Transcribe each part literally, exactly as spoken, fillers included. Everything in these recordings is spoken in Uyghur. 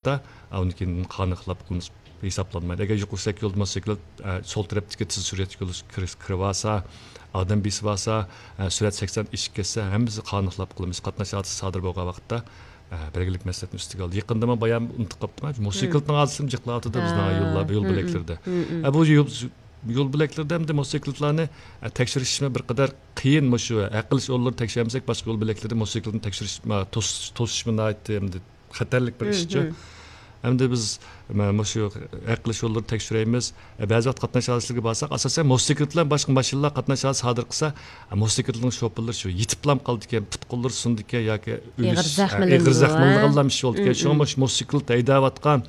ئۇنىڭ كېيىن قانۇنغا خىلاپ قىلمىش ھېسابلانمايدۇ. ئەگەر يۇقىرى سۈرئەتلىك يولدا موتوسىكلىت، ئە، سول تەرەپتىكى تېز سۈرئەتلىك يولغا كىرىپ، كىرىۋالسا، ئادەم بېسىۋالسا، ئە، سۈرئەت سەكسەن ئېشىپ كەتسە، ھەممىسى قانۇن خىلاپ قىلمىش قاتناش ھادىسىسى سادىر بولغان ۋاقىتتا، ئە، بەلگىلىك مەسلىھەتنى ئۈستىگە ئالدى. يېقىندا مەن بايان ئۇنتۇپ قاپتىمەن، موتوسىكلىتنىڭ ھادىسىسىمۇ جىقلاۋاتىدۇ بىزنىڭ يوللار، يول بۆلەكلىرىدە. ئە، بۇ يول، يول بۆلەكلىرىدە ئەمدى موتوسىكلىتلارنى، ئە، تەكشۈرۈشمۇ بىر قەدەر قىيىن. مۇشۇ ھەل قىلىش ئورۇنلىرىنى تەكشۈرمىسەك، باشقا يول بۆلەكلىرىدە موتوسىكلىتنى تەكشۈرۈش، ما، توس-، توسۇشمۇ ناھايىتى ئەمدى خەتەرلىك بىر ئىشچۇ. ئەمدى بىز، مە-، مۇشۇ ھەل قىلىش يوللىرىنى تەكشۈرەيمىز. بەزى ۋاقىت قاتناش ھادىسىلىرىگە بارساق، ئاساسەن موتوسىكلىت بىلەن باشقا ماشىنىلار قاتناش ھادىسىسى سادىر قىلسا، موتوسىكلىتنىڭ شوپۇرلىرى شۇ يېتىپلام قالىدىكەن، پۇت قوللىرى سۇنىدىكېن ياكى ئېغىر ئۆلۈش، ئېغىر زەخىملىنىدۇ، زەخىملىنىدىغانلام ئىش بولىدىكەن. شۇڭا مۇشۇ موتوسىكلىت ھەيدەۋاتقان،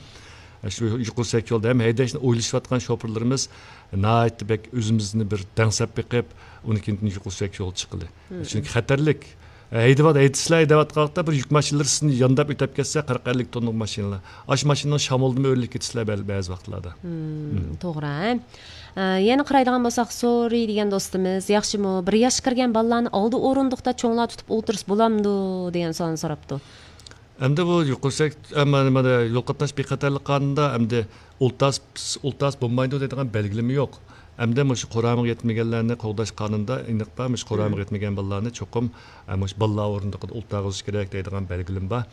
شۇ يۇقىرى سۈرئەتلىك يولدا ھەم ھەيدەشنى ئويلىشىۋاتقان شوپۇرلىرىمىز ناھايىتى بەك ئۆزىمىزنى بىر دەڭسەپ بېقىپ، ئۇنىڭ كېيىن يۇقىرى سۈرئەتلىك يولغا چىققىلى. چۈنكى خەتەرلىك. ھەيدەۋات-، ھەيدىسىلەر ھەيدەۋاتقان ۋاقىتتا بىر يۈك ماشىنىلىرى سىزنى يانداپ ئۆتۈپ كەتسە، قىرىق ئەللىك توننىلىق ماشىنىلار. ئاشۇ ماشىنىنىڭ شامىلىدىمۇ ئۆرۈلۈپ كېتىسىلەر بەل-، بەزى ۋاقىتلاردا. توغرا. ئە، يەنە قارايدىغان بولساق، سورى دېگەن دوستىمىز، ياخشىمۇ؟ بىر ياشقا كىرگەن بالىلارنى ئالدى ئورۇندۇقتا چوڭلار تۇتۇپ ئولتۇرسا بولامدۇ؟ دېگەن سوئالنى سوراپتۇ. ئەمدى بۇ يۇقىرى سۈرئەت، ئە، مانا، مانا يول قاتناش بىخەتەرلىك قانۇنىدا ئەمدى ئولتۇرس-، ئولتۇرسا بولمايدۇ دەيدىغان بەلگىلىمە يوق. ئەمدى مۇشۇ قۇرامىغا يەتمىگەنلەرنى قوغداش قانۇنىدا ئېنىق بار، مۇشۇ قۇرامىغا يەتمىگەن بالىلارنى چوقۇم، ئە، مۇشۇ بالىلار ئورۇندۇقىدا ئولتۇرغۇزۇش كېرەك دەيدىغان بەلگىلىمە بار.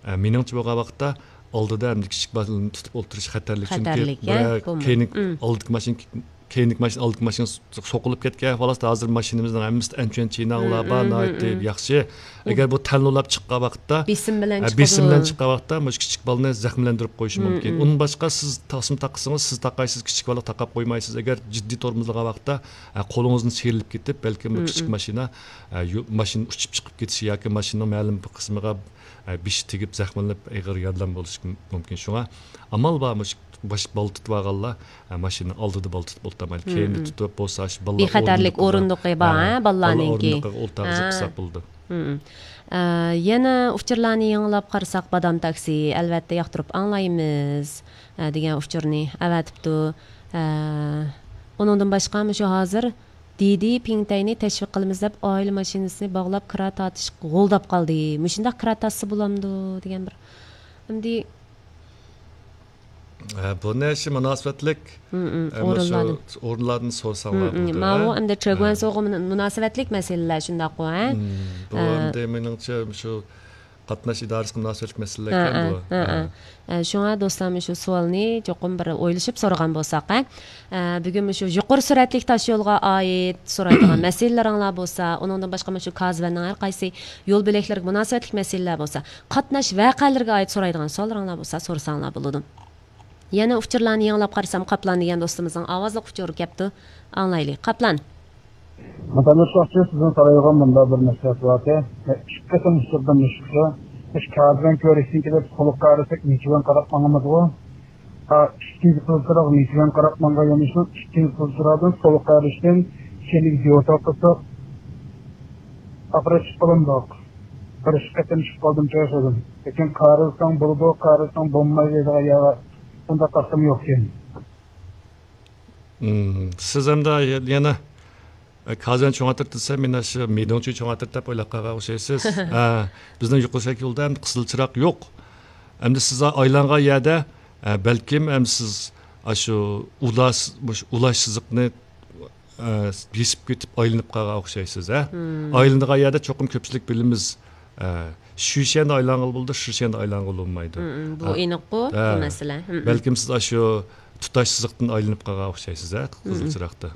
ئە، مېنىڭچە بولغان ۋاقىتتا ئالدىدا ئەمدى كىچىك بالىنى تۇتۇپ ئولتۇرۇش خەتەرلىك. چۈنكى خەتەرلىك، بىرەر بولمايدۇ. كەينىكى ئالدىكى ماشىنا كەينىكى ماشىنا، ئالدىكى ماشىنا سوقۇلۇپ كەتكەن، خالاس، ھازىر ماشىنىمىزنىڭ ھەممىسىدە ئەنچۈەن چىناڭلار بار، ناھايىتى ياخشى. ئەگەر بۇ تەنلۇلاپ چىققان ۋاقىتتا، بېسىم بىلەن ھە، بېسىم بىلەن چىققان ۋاقىتتا مۇشۇ كىچىك بالىنى زەخىملەندۈرۈپ قويۇشى مۇمكىن. ئۇنىڭ باشقا سىز تاسما تاقىسىڭىز، سىز تاقايسىز، كىچىك بالىغا تاقاپ قويمايسىز. ئەگەر جىددىي تورمۇزلىغان ۋاقىتتا، ھە، قولىڭىزنى سىيرىلىپ كېتىپ، بەلكىم بۇ كىچىك ماشىنا، ھە، يو-، ماشىنا ئۇچۇپ چىقىپ كېتىشى ياكى ماشىنىنىڭ مەلۇم بىر قىسمىغا، ھە، بېشى تېگىپ زەخىملىنىپ ئېغىر يارىلانما بولۇشى مۇمكىن. شۇڭا ئامال بار، مۇشۇ باش بالا تۇتۇۋالغانلار، ھە، ماشىنىنىڭ ئالدىدا بالا تۇتۇپ ئولتۇرمايلى. كەينىدە تۇتۇپ بولسا، شۇ بالىلار بىخەتەرلىك ئورۇندۇقى بار، ھە، بالىلارنىڭكى. ئورۇندۇقىغا ئولتۇرغۇزۇپ قىلساق بولىدۇ. ئە، يەنە ئۇچۇرلارنى يېڭىلاپ قارىساق، بادام تاكسى، ئەلۋەتتە ياقتۇرۇپ ئاڭلايمىز، ئە، دېگەن ئۇچۇرنى ئەۋەتىپتۇ. ئە، ئۇنىڭدىن باشقا، مۇشۇ ھازىر دىدى پىڭتەينى تەشۋىق قىلىمىز دەپ، ئائىلە ماشىنىسىنى باغلاپ، كىرا تارتىشقا غولداپ قالدى. مۇشۇنداق كىرا تارتسا بولامدۇ؟ دېگەن بىر. ئەمدى ھە، بۇنى شۇ مۇناسىۋەتلىك، ھە، مۇشۇ ئورۇنلاردىن سورىساڭلار بولىدۇ، ماۋۇ ھە؟ ئەمدى چېگۇەنسوغا مۇن-، مۇناسىۋەتلىك مەسىلىلەر شۇنداققۇ، ھە؟ بۇ ئەمدى مېنىڭچە مۇشۇ قاتناش ئىدارىسىگە مۇناسىۋەتلىك مەسىلىلەركەن بۇ. ھە. ئە، شۇڭا دوستلار، مۇشۇ سوئالنى چوقۇم بىر ئويلىشىپ سورىغان بولساق، ھە؟ ئە، بۈگۈن مۇشۇ يۇقىرى سۈرئەتلىك تاش يولغا ئائىت سورايدىغان مەسىلىلىرىڭلار بولسا، ئۇنىڭدىن باشقا مۇشۇ كازۋەننىڭ ھەر قايسى يول بۆلەكلىرىگە مۇناسىۋەتلىك مەسىلىلەر بولسا، قاتناش ۋەقەلىرىگە ئائىت سورايدىغان سوئاللىرىڭلار بولسا، سورىساڭلار بولىدۇ. يەنە ئۇچۇرلارنى يېڭىلاپ قارىسام، قاپلان دېگەن دوستىمىزنىڭ ئاۋازلىق ئۇچۇرى كەپتۇ. ئاڭلايلى. قاپلان. مۇتەللىپ ساقچى، سىزدىن سورايدىغان مۇنداق بىر مەسىلە بار ئىكەن. ئىككى قېتىم ئۇچۇردىن مۇشۇ. مۇشۇ كازۋەن كۆرۈشتىن كېلىپ، سولغا قارىساق، نېچۈۋەن قاراپ ماڭىمىزغۇ؟ ھا، ئىككىنچى پىلچىراغ نېچۈۋەن قاراپ ماڭغان يۆنىلىشنىڭ ئىككىنچى پىلچىراغدىن سولغا قارىشتىن كېيىنكى يوتاق قىلساق، ئاپىرىپ چىقىپ قالامدۇق؟ بىر ئىككى قېتىم چىقىپ قالدىم، چوشۇدۇم. لېكىن قارىساڭ بولىدۇ، قارىساڭ بولمايدۇ دەيدىغان يەر بار. ئۇنداق تاختىمۇ يوقكەن. مم، سىز ئەمدى يەنە، ئە، كازۋەن چوڭ ئاتىرىپ دېسە، مېنى شۇ مىدوڭچى چوڭ ئاتىرىپ دەپ ئويلاپ قالغان ئوخشايسىز. ئە، بىزنىڭ يۇقىرى سۈرئەتلىك يولدا ئەمدى قىزىل چىراغ يوق. ئەمدى سىز ئايلانغان يەردە، ئە، بەلكىم ئەمدى سىز ئاشۇ ئۇلاش، مۇشۇ ئۇلاش سىزىقنى، ئە، بېسىپ كېتىپ ئايلىنىپ قالغان ئوخشايسىز، ھە؟ ئايلىنىدىغان يەردە چوقۇم كۆپچىلىك بىلىمىز. ئە، شۈشەندە ئايلانغىلى بولىدۇ، شۈشەندە ئايلانغىلى بولمايدۇ. بۇ ئېنىققۇ، بۇ مەسىلە. بەلكىم سىز ئاشۇ تۇتاش سىزىقتىن ئايلىنىپ قالغان ئوخشايسىز، ھە، قىزىل چىراغدا.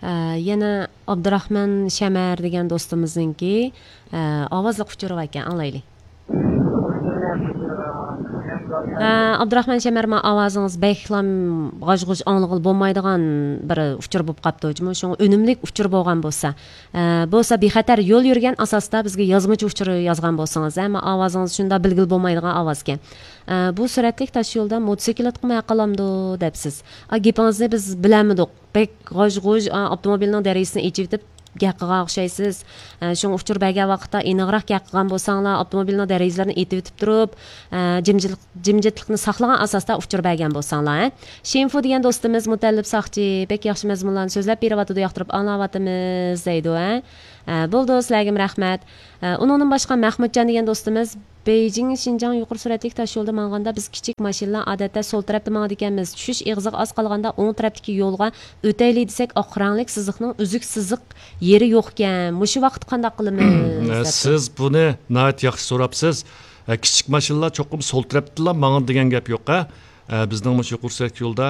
ئە، يەنە ئابدۇراخمان شەمەر دېگەن دوستىمىزنىڭكى، ئە، ئاۋازلىق ئۇچۇرى بار ئىكەن، ئاڭلايلى. ئە، ئابدۇراخمان شەمەر، ما ئاۋازىڭىز بەكلام غاژ-غۇژ ئاڭلىغىلى بولمايدىغان بىر ئۇچۇر بولۇپ قاپتۇ. جۇمۇ شۇڭا ئۈنۈملۈك ئۇچۇر بولغان بولسا، ئە، بولسا بىخەتەر يول يۈرگەن ئاساستا بىزگە يازمىچە ئۇچۇر يازغان بولسىڭىز، ئە، ما ئاۋازىڭىز شۇنداق بىلگىلى بولمايدىغان ئاۋازكەن. ئە، بۇ سۈرئەتلىك تاش يولدا موتوسىكلىتقىمۇ ھەق قالامدۇ دەپسىز. ئا، گېپىڭىزنى بىز بىلەلمىدۇق. بەك غاژ-غۇژ، ئا، ئاپتوموبىلنىڭ دېرىزىسىنى ئېچىۋېتىپ گەپ قىلغان ئوخشايسىز. ئە، شۇڭا ئۇچۇر بەرگەن ۋاقىتتا ئېنىقراق گەپ قىلغان بولساڭلار، ئاپتوموبىلنىڭ دېرىزىلىرىنى ئېتىۋېتىپ تۇرۇپ، ئە، جىمجىتلىق، جىمجىتلىقنى ساقلىغان ئاساستا ئۇچۇر بەرگەن بولساڭلار، ھە. شىنفۇ دېگەن دوستىمىز، مۇتەللىپ ساقچى، بەك ياخشى مەزمۇنلارنى سۆزلەپ بېرىۋاتىدۇ، ياقتۇرۇپ ئاڭلاۋاتىمىز دەيدۇ، ھە. ئە، بولىدۇ، سىلەرگىمۇ رەھمەت. ئە، ئۇنىڭدىن باشقا مەخمۇتجان دېگەن دوستىمىز، بېيجىڭ شىنجاڭ يۇقىرى سۈرئەتلىك تاش يولىدا ماڭغاندا، بىز كىچىك ماشىنىلار ئادەتتە سول تەرەپتە ماڭىدىكەنمىز. چۈشۈش ئېغىزىغا ئاز قالغاندا ئوڭ تەرەپتىكى يولغا ئۆتەيلى دېسەك، ئاق رەڭلىك سىزىقنىڭ ئۈزۈك سىزىق يېرى يوقكەن. مۇشۇ ۋاقىتتا قانداق قىلىمىز؟ دەپتۇ. سىز بۇنى ناھايىتى ياخشى سوراپسىز. ئە، كىچىك ماشىنىلار چوقۇم سول تەرەپتىلا ماڭىدۇ دېگەن گەپ يوق، ھە. ئە، بىزنىڭ مۇشۇ يۇقىرى سۈرئەتلىك يولدا،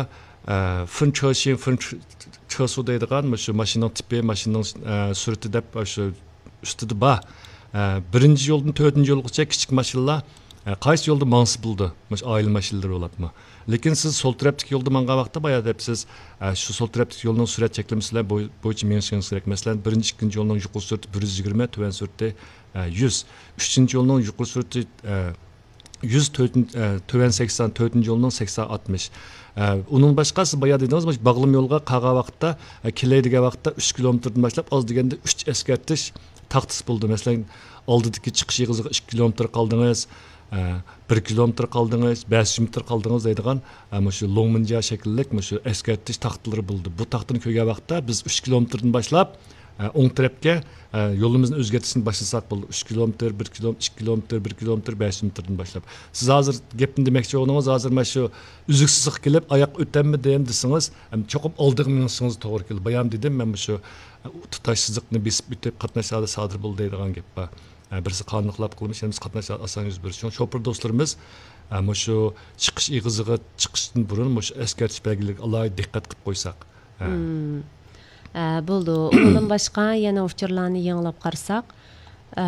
ئە، فېنچېشىڭ، فېنچېسۇ دەيدىغان مۇشۇ ماشىنىنىڭ تىپى، ماشىنىنىڭ، ئە، سۈرئىتى دەپ، ئە، شۇ ئۈستىدە بار. ئە، بىرىنچى يولدىن تۆتىنچى يولغىچە كىچىك ماشىنىلار، ئە، قايسى يولدا ماڭسا بولىدۇ، مۇشۇ ئائىلە ماشىنىلىرى بولاتمۇ. لېكىن سىز سول تەرەپتىكى يولدا مانغان ۋاقىتتا، بايا دەپسىز، ئە، شۇ سول تەرەپتىكى يولنىڭ سۈرئەت چەكلىمىسى بىلەن بوي-، بويىچە مېڭىشىڭىز كېرەك. مەسىلەن، بىرىنچى، ئىككىنچى يولنىڭ يۇقىرى سۈرئىتى بىر يۈز يىگىرمە، تۆۋەن سۈرئىتى، ئە، يۈز. ئۈچىنچى يولنىڭ يۇقىرى سۈرئىتى، ئە، يۈز تۆتىنچى، ئە، تۆۋەن سەكسەن، تۆتىنچى يولنىڭ سەكسەن ئاتمىش. ئە، ئۇنىڭ باشقا سىز بايا دېدىڭىز، مۇشۇ باغلىما يولغا قالغان ۋاقىتتا، ئە، كېلەي دېگەن ۋاقىتتا ئۈچ كىلومېتىردىن باشلاپ ئاز دېگەندە ئۈچ ئەسكەرتىش تاختىسى بولىدۇ. مەسىلەن، ئالدىدىكى چىقىش ئېغىزىغا ئىككى كىلومېتىر قالدىڭىز، ئە، بىر كىلومېتىر قالدىڭىز، بەش يۈز مېتىر قالدىڭىز دەيدىغان، ئە، مۇشۇ لوڭمىنجيا شەكىللىك مۇشۇ ئەسكەرتىش تاختىلىرى بولىدۇ. بۇ تاختىنى كۆرگەن ۋاقىتتا بىز ئۈچ كىلومېتىردىن باشلاپ، ئە، ئوڭ تەرەپكە، ئە، يولىمىزنى ئۆزگەرتىشنى باشلىساق بولىدۇ. ئۈچ كىلومېتىر، بىر كىلومېتىر، ئىككى كىلومېتىر، بىر كىلومېتىر، بەش يۈز مېتىردىن باشلاپ. سىز ھازىر گەپنى دېمەكچى بولدىڭىز، ھازىر مانا شۇ ئۈزۈكسىزلىققا كېلىپ، ئاياققا ئۆتەممىدىم دېسىڭىز، ئەم، چوقۇم ئالدىغا مېڭىشىڭىز توغرا كېلىدۇ. بايام دېدىم، مەن مۇشۇ، ئە، تۇتاش سىزىقنى بېسىپ ئۆتۈپ قاتناش ھادىسە سادىر بولدى دەيدىغان گەپ بار. ئە، بىرسى قانۇن خىلاپ قىلمىش، يەنە بىرسى قاتناش ھادىسە ئاسان يۈز بېرىشى. شوپۇر دوستلىرىمىز، ئە، مۇشۇ چىقىش ئېغىزىغا چىقىشتىن بۇرۇن مۇشۇ ئەسكەرتىش بەلگىلىرىگە ئالاھىدە دىققەت قىلىپ قويساق. ئە. مم. ئە، بولىدۇ. ئۇنىڭدىن باشقا يەنە ئۇچۇرلارنى يېڭىلاپ قارىساق، ئە،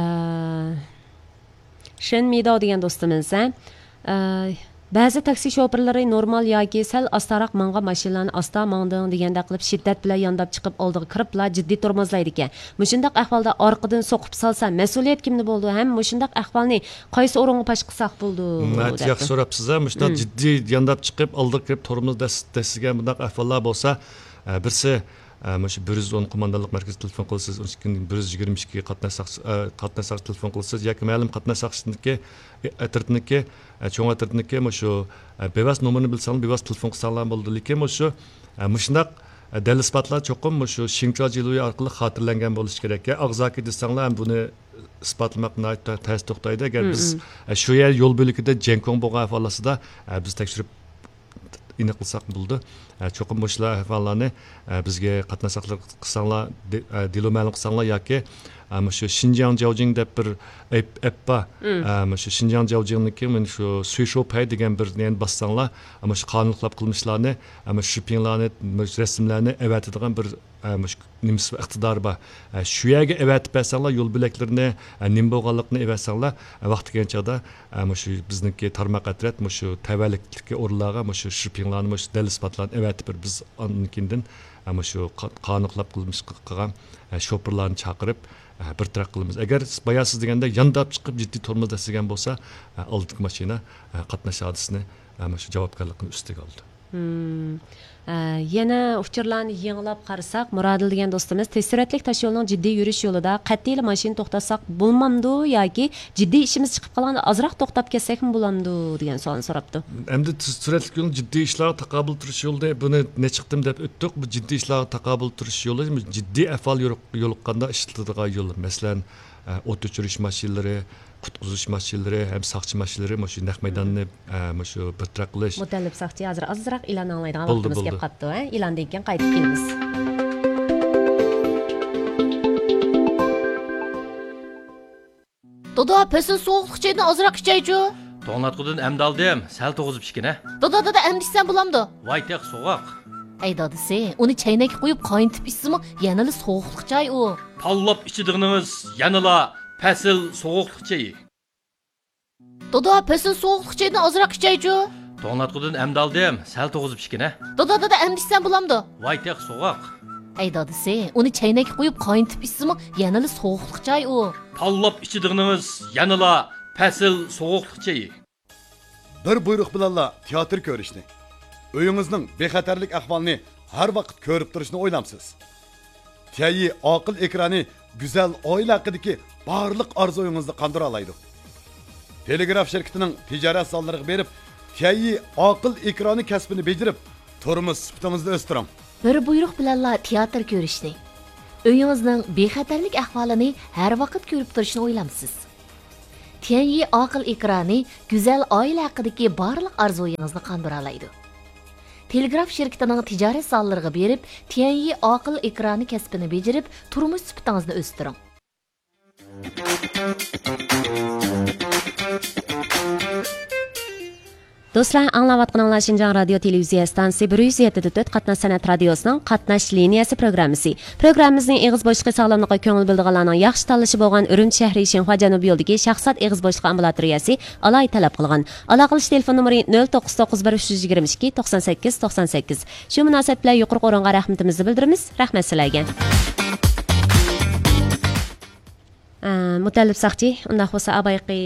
شېن مىداۋ دېگەن دوستىمىز، ئە، بەزى تاكسى شوپۇرلىرى نورمال ياكى سەل ئاستاراق ماڭغان ماشىنىلارنى ئاستا ماڭدىڭ دېگەندەك قىلىپ شىددەت بىلەن يانداپ چىقىپ ئالدىغا كىرىپلا جىددىي تورمۇزلايدىكەن. مۇشۇنداق ئەھۋالدا ئارقىدىن سوقۇپ سالسا مەسئۇلىيەت كىمدە بولىدۇ ھەم مۇشۇنداق ئەھۋالنى قايسى ئورۇنغا پاش قىلساق بولىدۇ؟ ناھايىتى ياخشى دەپتۇ. سوراپسىز، ھە. مۇشۇنداق جىددىي يانداپ چىقىپ ئالدىغا كىرىپ تورمۇز دەس-، دەسسىگەن بۇنداق ئەھۋاللار بولسا، ئە، بىرسى، ئە، مۇشۇ بىر يۈز ئون قوماندانلىق مەركىزىگە تېلېفون قىلىسىز، ئۇنىڭدىن كېيىن بىر يۈز يىگىرمە ئىككى قاتناش ساقچى، ئە، قاتناش ساقچىسىغا تېلېفون قىلىسىز ياكى مەلۇم قاتناش ساقچىسىنىڭكى، ئە، ئەترىتىنىڭكى، ئە، چوڭ ئەترىتىنىڭكى مۇشۇ، ئە، بىۋاسىتە نومۇرىنى بىلسەڭلار، بىۋاسىتە تېلېفون قىلساڭلار بولىدۇ. لېكىن مۇشۇ، ئە، مۇشۇنداق، ئە، دەلىل ئىسپاتلار چوقۇم مۇشۇ شىڭچۇا جىلۇيى ئارقىلىق خاتىرىلەنگەن بولۇشى كېرەك. يا ئاغزاكى دېسەڭلار ھەم بۇنى ئىسپاتلىماق ناھايىتى تەس توختايدۇ. ئەگەر بىز، ئە، شۇ يەر يول بۆلىكىدە جيەنكۇڭ بولغان ئەھۋال ئاستىدا، ئە، بىز تەكشۈرۈپ ئېنىقلىساق بولىدۇ. ئە، چوقۇم مۇشۇلار ئەھۋاللارنى، ئە، بىزگە قاتناش ساقچىلىرىغا قىلساڭلار، دې-، ئە، دېلو مەلۇم قىلساڭلار ياكى، ئە، مۇشۇ شىنجياڭ جياۋجىڭ دەپ بىر ئەپ، ئەپ بار. ئە، مۇشۇ شىنجياڭ جياۋجىڭنىڭكى مانا شۇ سۈيشۇ پەي دېگەن بىر نېمىنى باسساڭلار، مۇشۇ قانۇن خىلاپ قىلمىشلارنى، ئە، مۇشۇ شۈپىڭلارنى، مۇشۇ رەسىملەرنى ئەۋەتىدىغان بىر، ئە، مۇشۇ نېمىسى بار، ئىقتىدارى بار. ئە، شۇ يەرگە ئەۋەتىپ بەرسەڭلار، يول بۆلەكلىرىنى، ئە، نېمە بولغانلىقىنى ئەۋەتسەڭلار، ئە، ۋاقتى كەلگەن چاغدا، ئە، مۇشۇ بىزنىڭكى تارماق ئەترەت مۇشۇ تەۋەلىكتىكى ئورۇنلارغا مۇشۇ شۈپىڭلارنى، مۇشۇ دەلىل ئىسپاتلارنى ئەۋەتىپ بېرىپ، بىز ئاندىن كېيىندىن، ئە، مۇشۇ قا-، قانۇن خىلاپ قىلمىش قىلغان، ئە، شوپۇرلارنى چاقىرىپ، ئە، بىر تەرەپ قىلىمىز. ئەگەر بايا سىز دېگەندەك يانداپ چىقىپ جىددىي تورمۇز دەسسىگەن بولسا، ئە، ئالدىدىكى ماشىنا، ئە، قاتناش ھادىسىنى، ئە، مۇشۇ جاۋابكارلىقنى ئۈستىگە ئالىدۇ. مم. ئە، يەنە ئۇچۇرلارنى يېڭىلاپ قارىساق، مۇرادىل دېگەن دوستىمىز، تېز سۈرئەتلىك تاشيولنىڭ جىددىي يۈرۈش يولىدا قەتئىيلا ماشىنا توختاتساق بولمامدۇ ياكى جىددىي ئىشىمىز چىقىپ قالغاندا ئازراق توختاپ كەتسەكمۇ بولامدۇ دېگەن سوئالنى سوراپتۇ. ئەمدى تېز سۈرئەتلىك يولنىڭ جىددىي ئىشلارغا تاقابىل تۇرۇش يولى، بۇنى نەچچە قېتىم دەپ ئۆتتۇق. بۇ جىددىي ئىشلارغا تاقابىل تۇرۇش يولى، جىددىي ئەھۋال يولۇق-، يولۇققاندا ئىشلىتىلىدىغان يول. مەسىلەن، ئە، ئوت ئۆچۈرۈش ماشىنىلىرى، قۇتقۇزۇش ماشىنىلىرى ھەم ساقچى ماشىنىلىرى مۇشۇ نەق مەيداننى، ئە، مۇشۇ بىر تەرەپ قىلىش. مۇتەللىپ ساقچى ھازىر ئازراق ئېلان ئاڭلايدىغان ۋاقتىمىز كەپ قاپتۇ، ھە؟ ئېلاندىن كېيىن قايتىپ كېلىمىز. دادا، پەسىل سوغۇقلۇق چېيىدىن ئازراق ئىچەيچۇ. توڭلاتقۇدىن ئەمدى ئالدىم، سەل توغۇزۇپ ئىچكىنە. دادا، دادا، ئەمدى ئىچسەم بولامدۇ؟ ۋاي تېخى سوغۇق. ھەي دادىسى، ئۇنى چەينەككە قۇيۇپ قاينىتىپ ئىچسىمۇ يەنىلا سوغۇقلۇق چاي ئۇ. تاللاپ ئىچىدىغىنىڭىز يەنىلا پەسىل سوغۇقلۇق چېيى. دادا، پەسىل سوغۇقلۇق چېيىدىن ئازراق ئىچەيچۇ. توڭلاتقۇدىن ئەمدى ئالدىم، سەل توغۇزۇپ ئىچكىنە. دادا، دادا، ئەمدى ئىچسەم بولامدۇ؟ ۋاي تېخى سوغۇق. ھەي دادىسى، ئۇنى چەينەككە قۇيۇپ قاينىتىپ ئىچسىمۇ يەنىلا سوغۇقلۇق چاي ئۇ. تاللاپ ئىچىدىغىنىڭىز يەنىلا پەسىل سوغۇقلۇق چېيى. بىر بۇيرۇق بىلەنلا تىياتىر كۆرۈشنى، ئۆيىڭىزنىڭ بىخەتەرلىك ئەھۋالىنى ھەر ۋاقىت كۆرۈپ تۇرۇشنى ئويلامسىز؟ تيەيي ئاقىل ئېكرانى گۈزەل ئائىلە ھەققىدىكى بارلىق ئارزۇيىڭىزنى قاندۇرالايدۇ. تېلېگراف شىركىتىنىڭ تىجارەت زاللىرىغا بېرىپ، تيەيي ئاقىل ئېكرانى كەسپىنى بېجىرىپ، تۇرمۇش سۈپىتىڭىزنى ئۆستۈرۈڭ. بىر بۇيرۇق بىلەنلا تىياتىر كۆرۈشنى، ئۆيىڭىزنىڭ بىخەتەرلىك ئەھۋالىنى ھەر ۋاقىت كۆرۈپ تۇرۇشنى ئويلامسىز؟ تيەنيى ئاقىل ئېكرانى گۈزەل ئائىلە ھەققىدىكى بارلىق ئارزۇيىڭىزنى قاندۇرالايدۇ. تېلېگراف شىركىتىنىڭ تىجارەت زاللىرىغا بېرىپ، تيەنيى ئاقىل ئېكرانى كەسپىنى بېجىرىپ، تۇرمۇش سۈپىتىڭىزنى ئۆستۈرۈڭ. دوستلار، ئاڭلاۋاتقىنىڭلار شىنجاڭ رادىيو تېلېۋىزىيە ئىستانسىسى بىر يۈز يەتتە پۈتۈن تۆت قاتناش سەنئەت رادىيوسىنىڭ قاتناش لىنىيەسى پروگراممىسى. پروگراممىمىزنى ئېغىز بوشلۇقى ساغلاملىققا كۆڭۈل بۆلىدىغانلارنىڭ ياخشى تاللىشى بولغان ئۈرۈمچى شەھىرى شىنخۇا جەنۇبىي يولىدىكى شاھزات ئېغىز بوشلۇقى ئامبۇلاتورىيەسى ئالاھىدە تەلەپ قىلغان. ئالاقىلىشىش تېلېفون نومۇرى نۆل توققۇز توققۇز بىر ئۈچ يۈز يىگىرمە ئىككى توقسان سەككىز توقسان سەككىز. شۇ مۇناسىۋەت بىلەن يۇقىرىقى ئورۇنغا رەھمىتىمىزنى بىلدۈرىمىز. رەھمەت سىلەرگە. ئە، مۇتەللىپ ساقچى، ئۇنداق بولسا، ئاۋايقى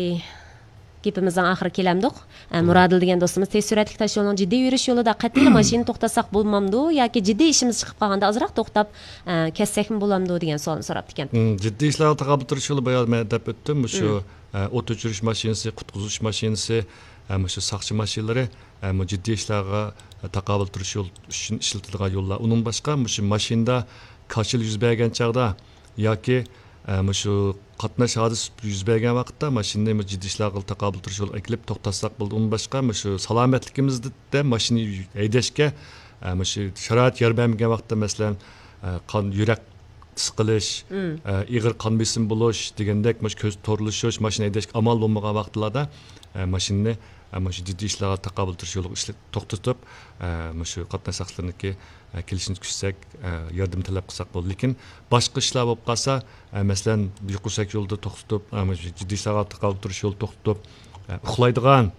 گېپىمىزنىڭ ئاخىرىغا كېلەمدۇق. ئە، مۇرادىل دېگەن دوستىمىز تېز سۈرئەتلىك تاشيولنىڭ جىددىي يۈرۈش يولىدا قەتئىيلا ماشىنا توختاتساق بولمامدۇ ياكى جىددىي ئىشىمىز چىقىپ قالغاندا ئازراق توختاپ، ئە، كەتسەكمۇ بولامدۇ دېگەن سوئالنى سوراپتىكەن. مم، جىددىي ئىشلارغا تاقابىل تۇرۇش يولى بايا مەن دەپ ئۆتتۈم. مۇشۇ، مم. ئە، ئوت ئۆچۈرۈش ماشىنىسى، قۇتقۇزۇش ماشىنىسى، ئە، مۇشۇ ساقچى ماشىنىلىرى، ئە، مۇ جىددىي ئىشلارغا، ئە، تاقابىل تۇرۇش يول ئۈچۈن ئىشلىتىلىدىغان يوللار. ئۇنىڭ باشقا مۇشۇ ماشىنىدا كاشىلا يۈز بەرگەن چاغدا ياكى، ئە، مۇشۇ قاتناش ھادىسىسى يۈز بەرگەن ۋاقىتتا ماشىنىنى مۇ جىددىي ئىشلارغا تاقابىل تۇرۇش يولىغا ئەكېلىپ توختاتساق بولىدۇ. ئۇنىڭ باشقا مۇشۇ سالامەتلىكىمىزدە ماشىنا ھەيدەشكە، ئە، مۇشۇ شارائىت يار بەرمىگەن ۋاقىتتا، مەسىلەن، ئە، قان، يۈرەك سىقىلىش، مم. ئە، ئېغىر قان بېسىمى بولۇش دېگەندەك، مۇشۇ كۆز تورلىشىش، ماشىنا ھەيدەشكە ئامال بولمىغان ۋاقىتلاردا، ئە، ماشىنىنى، ئە، مۇشۇ جىددىي ئىشلارغا تاقابىل تۇرۇش يولىغا ئىشلىتىپ توختىتىپ، ئە، مۇشۇ قاتناش ساقچىلىرىنىڭكى، ئە، كېلىشىنى كۈتسەك، ئە، ياردىمى تەلەپ قىلساق بولىدۇ. لېكىن باشقا ئىشلار بولۇپ قالسا، ئە، مەسىلەن، يۇقىرى سۈرئەت يولدا توختىتىپ، ئە، مۇشۇ جىددىي ئىشلارغا تاقابىل تۇرۇش يولىدا توختىتىپ، ئە، ئۇخلايدىغان،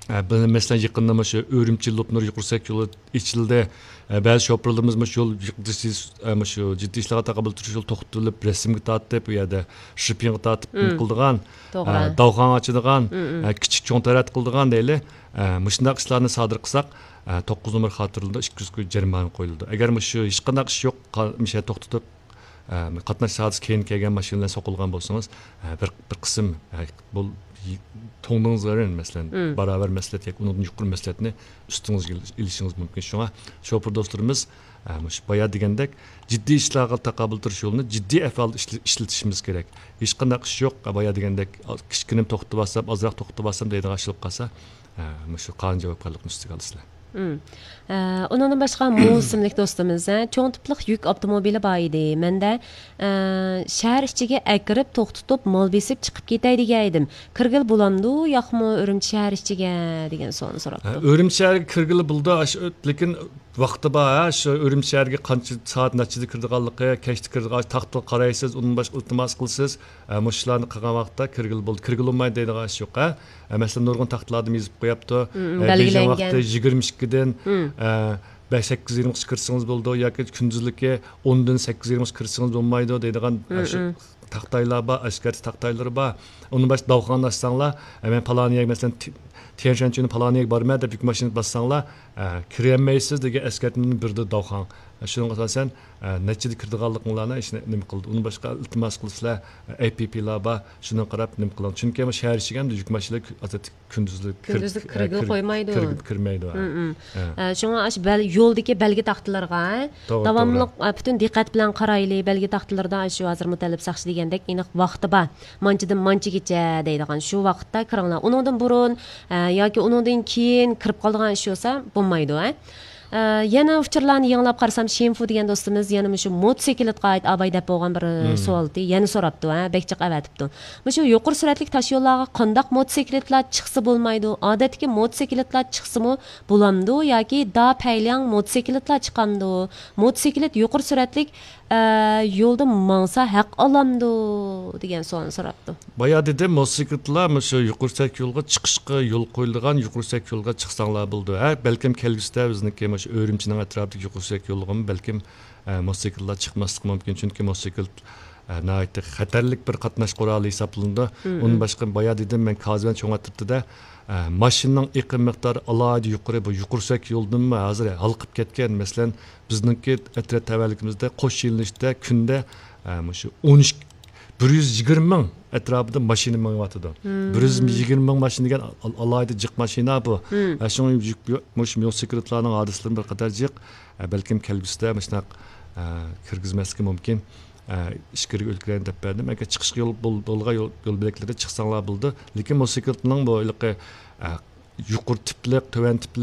ئە، بىر، مەسىلەن، يېقىندا مۇشۇ ئۈرۈمچى لوپنۇر يۇقىرى سۈرئەت يولى ئېچىلدى. ئە، بەزى شوپۇرلىرىمىز مۇشۇ يول يۇقىرى، ئە، مۇشۇ جىددىي ئىشلارغا تاقابىل تۇرۇش يولى توختىتىلىپ، رەسىمگە تارتىپ، ئۇ يەردە شىپىڭغا تارتىپ نېمە مم. قىلىدىغان، توغرا. ئە، داۋخان ئاچىدىغان، مم، مم. ئە، كىچىك چوڭ تەرەت قىلىدىغان دەيلى. ئە، مۇشۇنداق ئىشلارنى سادىر قىلساق، ئە، توققۇز نومۇر خاتىرىلىنىدۇ، ئىككى يۈز كوي جەرىمانە قويۇلىدۇ. ئەگەر مۇشۇ ھېچقانداق ئىش يوق، قا-، مۇشۇ يەردە توختىتىپ، ئە، قاتناش سائەتسىز كېيىن كەلگەن ماشىنا بىلەن سوقۇلغان بولسىڭىز، ئە، بىر، بىر قىسىم، ئە، بۇ، توڭدىڭىزغا بېرىڭ، مەسىلەن، مم. باراۋەر مەسلىھەت ياكى ئۇنىڭدىن يۇقىرى مەسلىھەتنى ئۈستىڭىزگە ئېلىشىڭىز مۇمكىن. شۇڭا شوپۇر دوستلىرىمىز، ئە، مۇشۇ بايا دېگەندەك جىددىي ئىشلارغا تاقابىل تۇرۇش يولىنى جىددىي ئەھۋالدا ئىشلە-، ئىشلىتىشىمىز كېرەك. ھېچقانداق ئىش يوق، بايا دېگەندەك كىچىككىنە توختىتىۋالسام، ئازراق توختىتىۋالسام دەيدىغان ئىش بولۇپ قالسا، ئە، مۇشۇ قانۇن جاۋابكارلىقنى ئۈستىگە ئالىسىلەر. مم. ئە، ئۇنىڭدىن باشقا مۇ ئىسىملىك دوستىمىز، ھە، چوڭ تىپلىق يۈك ئاپتوموبىلى بار ئىدى. مەندە، ئە، شەھەر ئىچىگە ئەكىرىپ توختىتىپ مال بېسىپ چىقىپ كېتەي دېگەن ئىدىم. كىرگىلى بولامدۇ ياقمۇ ئۈرۈمچى شەھەر ئىچىگە دېگەن سوئالنى ھە، سوراپتۇ. ئۈرۈمچى شەھەرگە كىرگىلى بولىدۇ، ئاش-، لېكىن ۋاقتى بار، ھە، شۇ ئۈرۈمچى شەھەرگە قانچە سائەت نەچچىدە كىرىدىغانلىقى، كەچتە كىرىدىغان، تاختىغا قارايسىز، ئۇنىڭ باشقا ئىلتىماس قىلىسىز. ئە، مۇشۇ ئىشلارنى قىلغان ۋاقىتتا كىرگىلى بولدى، كىرگىلى بولمايدۇ دەيدىغان ئىش يوق، ھە. ئە، مەسىلەن، نۇرغۇن تاختىلاردا يېزىپ قويۇپتۇ. مم، ئە، بېيجىڭ بەلگىلەنگەن. ۋاقتى يىگىرمە ئىككىدىن، مم. ئە، بەش، سەككىز يېرىمغىچە كىرسىڭىز بولىدۇ ياكى كۈندۈزلۈكى ئوندىن سەككىز يېرىمغىچە كىرسىڭىز بولمايدۇ دەيدىغان، ئە، مم، شۇ مم. تاختايلار بار، ئەسكەرتىش تاختايلىرى بار. ئۇنىڭ باشقا داۋخانىنى ئاچساڭلار، ئە، مەن پالان يەرگە، مەسىلەن، تي-، تيەنشەنچۈنى پالان يەرگە بارىمەن دەپ يۈك ماشىنىسى باسساڭلار، ئە، كىرەلمەيسىز دېگەن ئەسكەرتمىنى بېرىدۇ داۋخان. شۇنىڭغا ئاساسەن، ئە، نەچچىدە كىرىدىغانلىقىڭلارنى ئىشنى نېمە قىلدى. ئۇنى باشقا ئىلتىماس قىلىسىلەر، ئەي پىي پىيلار بار، شۇنىڭغا قاراپ نېمە قىلىڭ. چۈنكى بۇ شەھەر ئىچىگە ھەمدە يۈك ماشىنىلىرى كۈ-، ئاساسەن كۈندۈزلۈك كىر-، كۈندۈزلۈك ئە، كىرگىلى كىر-، قويمايدۇ. كىرگىلى كىرمەيدۇ، ھە. مم، مم. ھە. ئە، شۇڭا ئاشۇ بەل-، يولدىكى بەلگە تاختىلىرىغا توغرا، داۋاملىق، توغرا. ئە، پۈتۈن دىققەت بىلەن قارايلى. بەلگە تاختىلىرىدا ئاشۇ ھازىر مۇتەللىپ ساقچى دېگەندەك ئېنىق ۋاقتى بار. مانچىدىن مانچىگىچە دەيدىغان شۇ ۋاقىتتا كىرىڭلار. ئۇنىڭدىن بۇرۇن، ئە، ياكى ئۇنىڭدىن كېيىن كىرىپ قالىدىغان ئىش بولسا بولمايدۇ، ھە. ئە، يەنە ئۇچۇرلارنى يېڭىلاپ قارىسام، شىنفۇ دېگەن دوستىمىز يەنە مۇشۇ موتوسىكلىتقا ئائىت ئاۋاي دەپ بولغان بىر مم. سوئالتى يەنە سوراپتۇ، ھە، بەك جىق ئەۋەتىپتۇ. مۇشۇ يۇقىرى سۈرئەتلىك تاش يوللارغا قانداق موتوسىكلىتلار چىقسا بولمايدۇ؟ ئادەتتىكى موتوسىكلىتلار چىقسىمۇ بولامدۇ ياكى داپەيلياڭ موتوسىكلىتلار چىقامدۇ؟ موتوسىكلىت يۇقىرى سۈرئەتلىك، ئە، يولدا ماڭسا ھەق ئالامدۇ؟ دېگەن سوئالنى سوراپتۇ. بايا دېدىم، موتوسىكلىتلار مۇشۇ يۇقىرى سۈرئەت يولغا چىقىشقا يول قويۇلىدىغان يۇقىرى سۈرئەت يولغا چىقساڭلار بولىدۇ. ھە، بەلكىم كەلگۈسىدە بىزنىڭكى مۇشۇ ئۈرۈمچىنىڭ ئەتراپىدىكى يۇقىرى سۈرئەت يولىغىمۇ بەلكىم، ئە، موتوسىكلىتلار چىقماسلىقى مۇمكىن. چۈنكى موتوسىكلىت، ئە، ناھايىتى خەتەرلىك بىر قاتناش قورالى ھېسابلىنىدۇ. مم، ئۇنىڭ مم. باشقا بايا دېدىم، مەن كازىۋەن چوڭ ئەترىتىدە، ئە، ماشىنىنىڭ ئېقىم مىقدارى ئالاھىدە يۇقىرى، بۇ يۇقىرى سۈرئەت يولدىنمۇ ھازىر ھالقىپ كەتكەن. مەسىلەن، بىزنىڭكى ئەترەت تەۋەلىكىمىزدە قوش يۆنىلىشتە كۈندە، ئە، مۇشۇ ئون ئىككى، بىر يۈز يىگىرمە مىڭ ئەتراپىدا ماشىنا مېڭىۋاتىدۇ. مم. بىر يۈز يىگىرمە مىڭ ماشىنا دېگەن ئال-، ئالاھىدە جىق ماشىنا بۇ. مم. ئە، شۇڭا يۈك، مۇشۇ موتوسىكلىتلارنىڭ ھادىسىلىرى بىر قەدەر جىق. ئە، بەلكىم كەلگۈسىدە مۇشۇنداق، ئە، كىرگۈزمەسلىكى مۇمكىن. ئىچكىرىكى ئۆلكىلەرنى دەپ بەردىم. ئەگەر چىقىشقا يول بول-، بولغان يول، يول بۆلەكلىرىدە چىقساڭلار بولىدۇ. لېكىن موتوسىكلىتنىڭ بۇ ھېلىقى، ئە، يۇقىرى تىپلىق، تۆۋەن تىپلىق